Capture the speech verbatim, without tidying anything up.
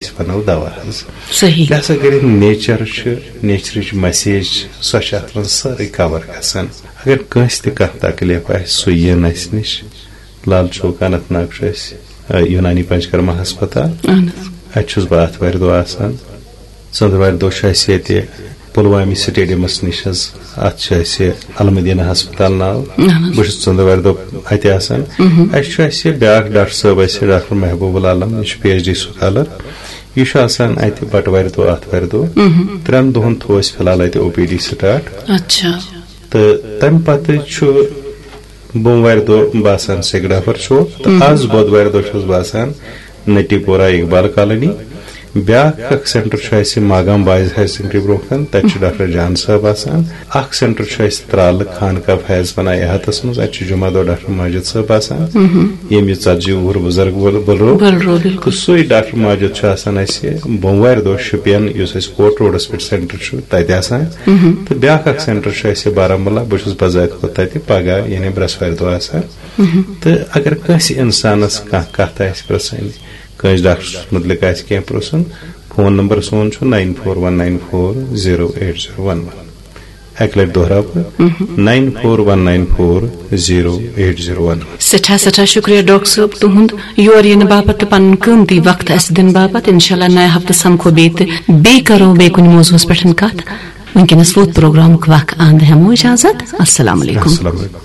أسۍ وَنو دوا حظ۔ صحیح۔ لہذا کٔرِتھ نیچر چھُ، نیچرٕچ مسیج چھِ، سۄ چھِ اَتھ منٛز سٲرٕے کور گژھان۔ اگر کٲنٛسہِ تہِ کانٛہہ تکلیف آسہِ، سُہ یِن اَسہِ نِش۔ لال چوک اننت ناگ چھُ اَسہِ، آ، یونانی پنچکرما ہسپتال۔ اہن حظ۔ اَتہِ چھُس بہٕ آتھوارِ دۄہ آسان۔ ژٔنٛدٕروارِ دۄہ چھُ اَسہِ ییٚتہِ پُلوامہِ سٹیڈیمس نِش حظ۔ اَتھ چھُ اَسہِ المدینہ ہسپتال ناو۔ اہن حظ۔ بہٕ چھُس ژٔنٛدٕروارِ دۄہ اَتہِ آسان۔ اَسہِ چھُ اَسہِ بیٛاکھ ڈاکٹر صٲب، اَسہِ ڈاکٹر محبوب العالم، یہِ چھُ پی ایچ ڈی سکالر۔ یہِ چھُ آسان اَتہِ بٹوارِ دۄہ، آتھوارِ دۄہ۔ ترٛٮ۪ن دۄہن تھوٚو اَسہِ فی الحال اَتہِ او پی ڈی سٹارٹ۔ اچھا۔ تہٕ تَمہِ پتہٕ چھُ بوموارِ دۄہ باسان سِگڑافر چوک، تہٕ آز بۄدوارِ دۄہ چھُس باسان نٹی پورہ اقبال کالونی۔ بیٛاکھ اکھ سینٹر چھُ اَسہِ ماگام بوائز ہایر سیکنڈری برونٛہہ کَنہِ، تَتہِ چھُ ڈاکٹر جان صٲب آسان۔ اکھ سینٹر چھُ اَسہِ ترالہٕ خانقاہ فیض پناہ احاطس منٛز، اَتہِ چھُ جمعہ دۄہ ڈاکٹر ماجد صٲب آسان، ییٚمۍ یہِ ژتجی وُہُر بُزرگ وول بُلرو۔ بُلرو، بِلکُل۔ تہٕ سُے ڈاکٹر ماجد چھُ آسان اَسہِ بوموارِ دۄہ شُپین، یُس اَسہِ کوٹ روڈس پٮ۪ٹھ سینٹر چھُ، تَتہِ آسان۔ تہٕ بیٛاکھ اکھ سینٹر چھُ اَسہِ بارہمولہ، بہٕ چھُس بذات خود تَتہِ پگاہ، یعنی برٛٮ۪سوارِ دۄہ آسان۔ تہٕ اگر کٲنٛسہِ اِنسانَس کانٛہہ کَتھ آسہِ پرٛژھٕنۍ، کٲنٛسہِ ڈاکٹرَس مُتعلِق آسہِ کینٛہہ پرٛژھُن، فون نمبر سون چھُ nine four one nine four zero eight zero one one۔ اَکہِ لَٹہِ دۄہراو بہٕ، nine four one nine four zero eight zero one one۔ سٮ۪ٹھاہ سٮ۪ٹھاہ شُکریہ ڈاکٹر صٲب، تُہُنٛد یور یِنہٕ باپتھ تہٕ پنُن قۭمتی وقت اَسہِ دِنہٕ باپتھ۔ انشاءاللہ نَیہِ ہفتہٕ سمکھو بیٚیہِ تہٕ بیٚیہِ کرو بیٚیہِ کُنہِ موضوعس پٮ۪ٹھ کتھ۔ وٕنکیٚنس ووت پروگرامُک وق اند، ہٮ۪مو اجازت۔ السلام علیکم۔ السلام علیکم۔